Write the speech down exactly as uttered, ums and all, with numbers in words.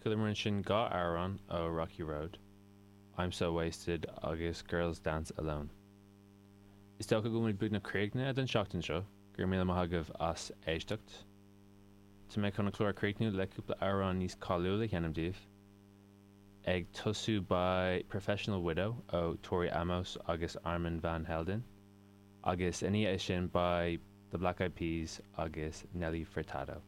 Chualamar ansin dhá amhrán ó Rocky Road, I'm So Wasted agus Girls Dance Alone. Is dócha go bhfuil muid beagnach críochnaithe don seachtain seo, go raibh míle maith agaibh as éisteacht. Tá mé chun an clár a chríochnú le cúpla amhrán níos cáiliúla a sheinm daoibh. Ag tosú beidh Professional Widow ó Tori Amos agus Armand Van Helden, agus ina dhiaidh sin beidh The Black Eyed Peas agus Nelly Furtado.